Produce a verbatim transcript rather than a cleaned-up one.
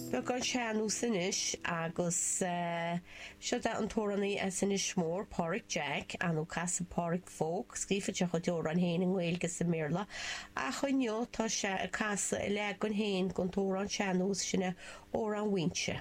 Beagán sean-nós anois agus seo é an t-amhránaí as Inis Mór, Páraic Jack, nó casann Páraic Folk, scríobhann sé a chuid amhrán féin i nGaeilge is i mBéarla, ach inniu tá sé ag casadh a leagan féin den t-amhrán sean-nós, sin é Amhrán Mhaínse.